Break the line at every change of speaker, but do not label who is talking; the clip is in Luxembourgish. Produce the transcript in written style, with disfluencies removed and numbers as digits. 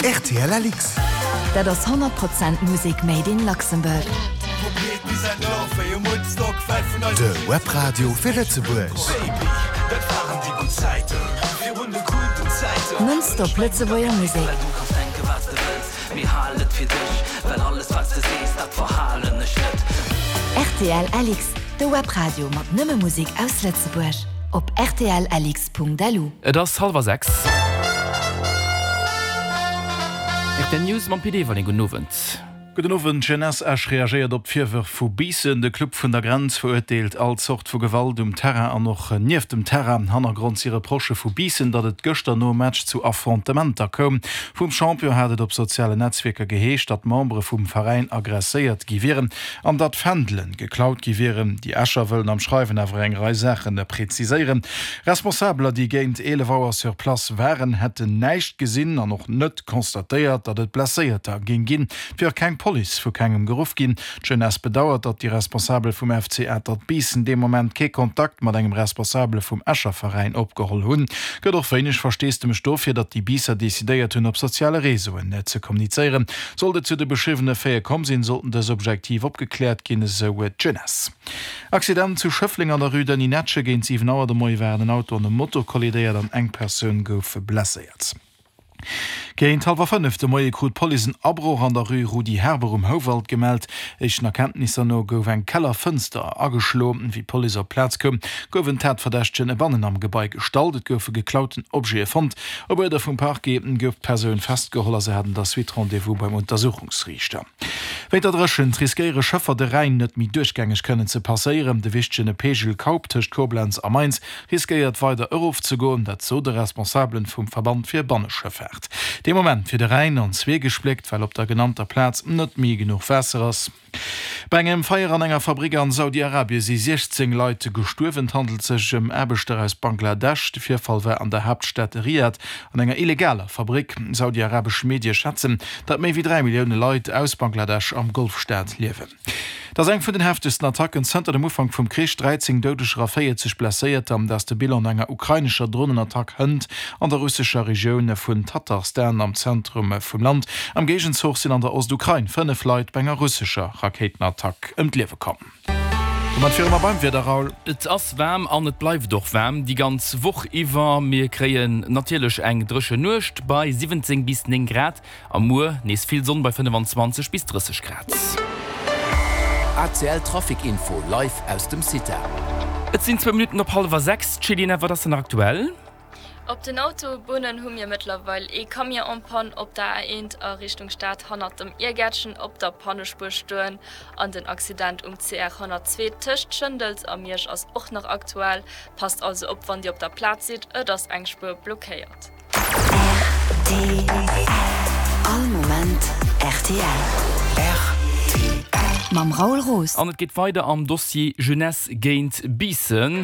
Rtl LX.
Dat ass 100 Prozent Musek made in Luxembourg.
De Webradio fir Lëtzebuerg.
Nonstop Lëtzebuerger Musek. Rtl LX, de Webradio mat nëmme Musek aus Lëtzebuerg. Op rtlx. Lu.
Et ass hallwer 6. Rtl News mam Pit Everling. Gudden Owend.
Gudden Owend. D'Jeunesse Esch reagéiert op d'Virwërf vu Biissen. De Club vun der Grenz verurteelt all Zort vu Gewalt um Terrain an och nieft dem Terrain. Hannergrond si Reprochë vu Biissen, datt et gëschter nom Match zu Affrontementer koum. Vum Champion hat et op sozialen Netzwierker geheescht, datt Membere vum Veräin aggresséiert gi wieren. An datt Fändelen geklaut gi wieren. Déi Escher wëllen am Schreiwen awer eng Rei Saache präziséieren. Responsabeler, déi géint 11 Auer sur place waren, hätten näischt gesinn an och net constatéiert, datt et Blesséierter géing ginn. Et wier och keng Police vu kengem geruff ginn. D'Jeunesse bedauert, datt déi Responsabel vum FC Atert Biissen dee Moment kee Kontakt mat engem Responsabele vum Escher Veräin opgeholl hunn. Gëtt och wéineg Versteesdemech dofir, datt déi Biisser decidéiert hunn, op soziale Reseauen ze kommunizéieren. Sollt et zu de beschriwwene Faite komm sinn, sollten dës objektiv opgekläert ginn, esou d'Jeunesse. Accident zu Schëffleng an der Rue Denis Netsche, Géint 7 Auer de Moie waren en Auto an e Moto kollidéiert an eng Persoun gouf blesséiert. Géint hallwer 5 de Moie krut d'Police en Abroch an der Rue Rudi Herber um Houwald gemellt. Éischten Erkenntnisser no gouf eng Kellerfënster ageschlo. Wéi d'Police op d'Plaz koum, gouf en Tatverdächtegen bannen am Gebai gestallt. Et goufe geklauten Objete fonnt. Op Uerder vum Parquet gouf d'Persoun festgeholl a se hat an der Suite Rendez-vous beim Untersuchungsriichter. Wéint der Dréchent riskéiere Schëffer de Rhäin net méi duerchgängeg kënnen ze passéieren. De wichtegen Peegel Kaup tëscht Koblenz a Mainz riskéiert weider erofzegoen. Dat sot e Responsabelen vum Verband fir Banneschëffaart. Dee Moment wier de Rhäin an zwee gespléckt, well op der genannter Plaz net méi genuch Waasser ass. Bei engem Feier an enger Fabrick an Saudi-Arabie si 16 Leit gestuerwen. Et handelt sech ëm Aarbechter aus Bangladesch. De Virfall war an der Haaptstad Riad an enger illegaler Fabrick. Saudi-arabesch Medie schätzen, datt méi wéi 3 Millioune Leit aus Bangladesch am Golfstaat liewen. Et ass eng vun den heftegsten Attacken zënter dem Ufank vum Krich, 13 Doudeger a 40 Blesséierter, dat ass de Bilan no enger ukrainescher Dronenattack hënt an der russescher Regioun vun Tatarstan am Zentrum vum Land. Am Géigenzuch sinn an der Ostukrain 5 Leit bei enger russescher Rakéitenattack ëm d'Liewe komm. Domat wiere mer beim Wieder, Raoul.
Et ass waarm an et bleift och waarm déi ganz Woch iwwer. Mir kréien natierlech eng dréchen Nuecht bei 17 bis 9 Grad a muer nees vill Sonn bei 25 bis 30 Grad.
ACL Trafic Info live aus dem CITA.
Et sinn zwou Minutten op hallwer 6. Céline, wat ass denn nach aktuell?
Op den Autobunnen hu mir mëttlerweil ee Camion en panne op der A1 a Richtung Stad hannert dem Iergäertchen op der Pannespuer stoen an den Accident um CR 102 tëscht Schëndels a Miersch ass och nach aktuell. Passt also op wann dir op der Plaz sidd, et ass eng Spuer blockéiert.
Rtl All Moment rtl.
Rtl.
Mam Raoul Roos.
An et geet weider am Dossier Jeunesse géint Biissen.